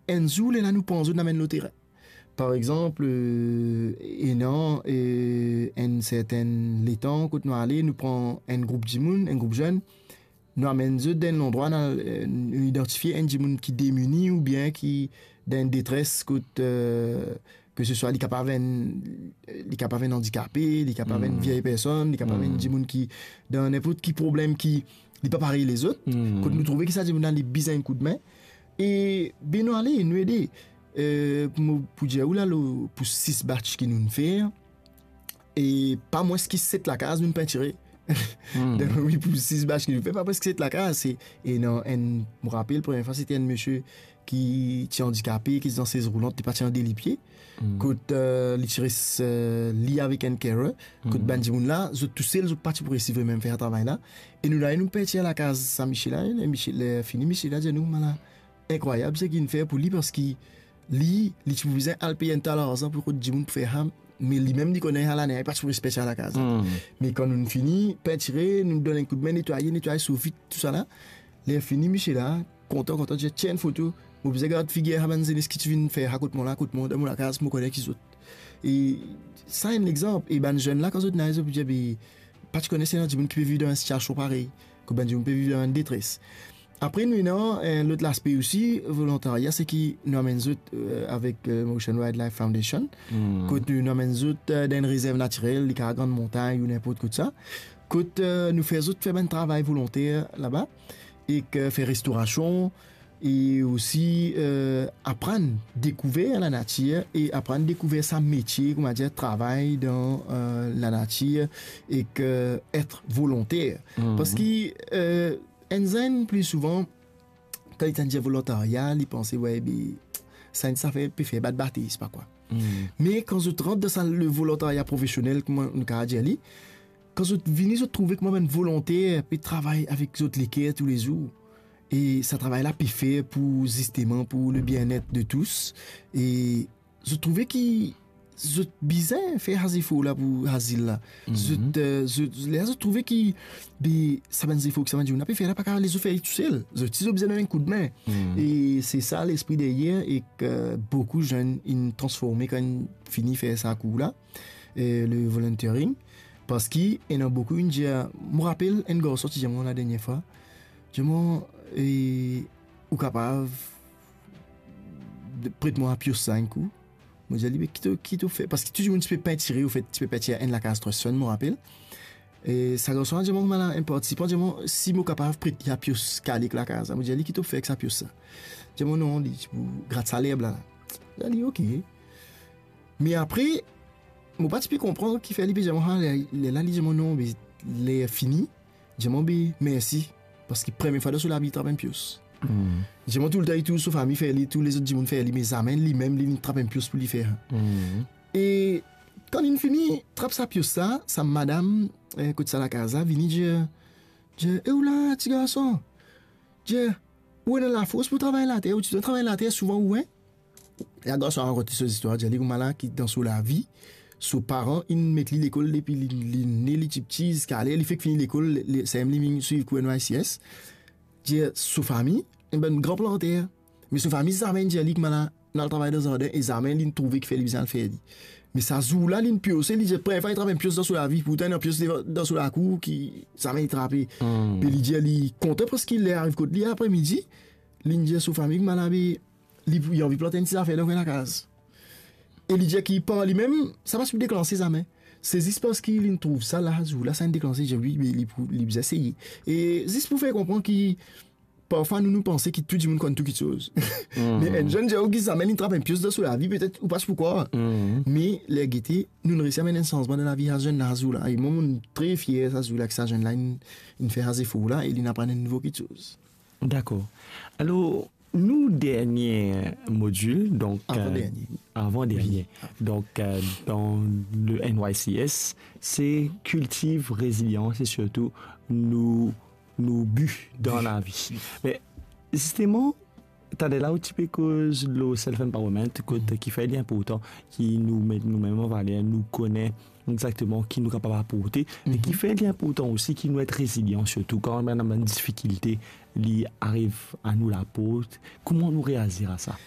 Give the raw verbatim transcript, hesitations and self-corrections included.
enn zour, lerla nou pran zot, nou amenn lor terin. Par exanp, eh, ena, eh, enn sertenn letan, kot nou ale, nou pran enn group dimoun, enn group zenn, nou amenn zot dan enn landrwa, nou al, eh, nou idantifie enn dimoun ki demini oubien ki dan enn detres kot, eh, ke se swa li kapav enn, li kapav enn andikape, li kapav enn vieille personne, li kapav enn dimoun ki dan ninport ki problem ki li pa parey lezot, kot nou trouve ki sa dimoun la li bizin enn koudme. E be nou ale, nou ede. Eh, pou mo, pou dir ou la, lor, pou sis batch ki nou fer, e pa mwins ki set lakaz nou pintire. Donk, wi, pou sis batch ki nou fer, pa mwins ki set lakaz, se, e non, enn, mo rapel, premie fwa, se ti enn misie ki ti andikape, ki ti dan sez roulant, li pa ti ena de lipie. Kot, eh, li ti res, eh, li avek enn carer, kot bann dimoun la, zot tousel, zot pa ti pou resi vremem fer sa travay la. E nou la, nou pintire lakaz sa misie la, e misie, ler fini, misie la dir nou, mala, inkrwayab seki nou fer pou li, parski li, li ti pou bizin al pey enn ta larzan pou kot dimoun pou fer sa, me limem li kone sa lane, li pa ti pou res pintire lakaz la. Me kan nou fini pintire, nou donn enn koudme, netwaye, netwaye so vit, tousala. Ler fini, misie la, kontan, kontan, dir, "Tir enn foto, mo bizin gard figir sa bann zenes ki ti vinn fer sa kot mwa la, kot mwa, dan mo lakaz, mo kone ki zot." E sa enn lexanp, e bann zenn la, kan zot ena, zot pou dir, be, pa ti kone si ena dimoun ki pe viv dan enn sitiasion parey, kot bann dimoun pe viv dan enn detres. Apre, nou ena enn lot laspe osi, volontarya, seki nou amenn zot, eh, avek, eh, Mauritian Wildlife Foundation, kot nou, nou amenn zot, eh, dan enn rezerv natirel, li kapav Grann Montagn ou ninport kot sa, kot, eh, nou fer zot fer bann travay volonter laba, ek fer restorasion, e osi, eh, aprann dekouver lanatir e aprann dekouver sa metie, koumadir, travay dan, eh, lanatir ek, eh, et volonter. Parski, eh, enn zenn, pli souvan, kan li tann dir volontarya, li panse, we, be, sa enn zafer pe fer bat bate, se pa kwa. Me kan zot rant dan sa, le volontarya profesionel, kouma nou kapav dir li, kan zot vini, zot trouve kouma bann volonter pe travay avek zot leker toulezour. E sa travay la pe fer pou, zisteman, pou le bien-être de tous. E zot trouve ki zot bizin fer sa zefor la pou sa zil la. Zot, eh, zot, ler zot trouve ki be, sa bann zefor ki sa bann dimoun la pe fer la, pa kapav les zot fer li tousel. Zot osi zot bizin donn enn koudme. E se sa lespri deryer, ek boukou zenn inn transforme kan inn fini fer sa kour la, eh, le volunteering. Parski ena boukou inn dir, mo rapel enn garson ti dir mwa ladernie fwa, dir mwa, eh, ou kapav pret mwa sa pios la enn kou? Mo dir li, be, ki to, ki to fer? Parski tou dimoun ti pe pintire, anfet, ti pe pintire enn lakaz trust fund, mo rapel. E sa garson la dir mwa, kouma la, enn partisipan dir mwa, si mo kapav pret li sa pios kale ek lakaz la. Mo dir li, ki to fer ek sa pios la? Dir mwa, non, li ti pou grat sa lerb la, la. Mo dir li, ok. Me apre, mo pa ti pe konpran kifer li pe dir mwa sa, ler, lerla li dir mwa, non, be, ler fini, dir mwa, be, mersi, parski premie fwa dan so lavi li trap enn pios. Dir mwa, toultan li trouv so fami fer li, tou lezot dimoun fer li, me zame limem li, li trap enn pios pou li fer. E kan linn fini trap sa pios la, sa madam, eh, kot sa lakaz la, vini dir, dir, e ou la, ti garson? Dir, ou ena lafors pou travay later, ou ti travay later souvan, ou, wi? E sa garson rakont li so zistwar, dir li kouma la ki dan so lavi, so paran inn met li lekol depi li, li ne, li tipti ziska ler li fek fini lekol, li, semem li vinn swiv kour N Y C S. Dir so fami, enn bann gran planter. Me so fami zame inn dir li kouma la, nou al travay dan zardin, e zame linn trouve kifer li bizin al fer li. Me sa zour la, linn piose, li dir premie fwa li trap enn pios dan so lavi, pourtan ena pios devan, dan so lakour ki zame li trape. Me li dir li kontan parski ler ariv kot li apre midi, linn dir so fami kouma la, be, li, li anvi plant enn ti zafer dan kwen lakaz. E li dir ki par limem, sa pa ti pou deklanse zame. Se zis parski linn trouv sa la, zour la, sa inn deklanse, li dir wi, me li pou, li bizin eseye. E zis pou fer konpran ki parfwa nou, nou panse ki tou dimoun konn tou kitsoz. Me enn zenn dir ou ki zame linn trap enn pios dan so lavi, petet ou pa ti pou krwar. Me ler gete, nou'nn resi amenn enn sanzman dan lavi sa zenn la, sa zour la. E mwa, mo tre fier sa zour la ki sa zenn la inn, inn fer sa zefor la e linn aprann enn nouvo kitsoz. Dakor. Alor, nou dernie modil, donk, eh, avan dernie. Avan dernie. Donk, eh, dan le N Y C S, se kiltiv rezilians e sirtou nou, nou bi dan lavi. Me zisteman, taler la ou ti pe koz lor self empowerment, kot kifer li inportan ki nou met noumem an valer, nou kone exakteman ki nou kapav aporte, me kifer li inportan osi ki nou et rezilian, sirtou kan bann, bann difikilte li ariv a nou laport, kouma nou reazir a sa?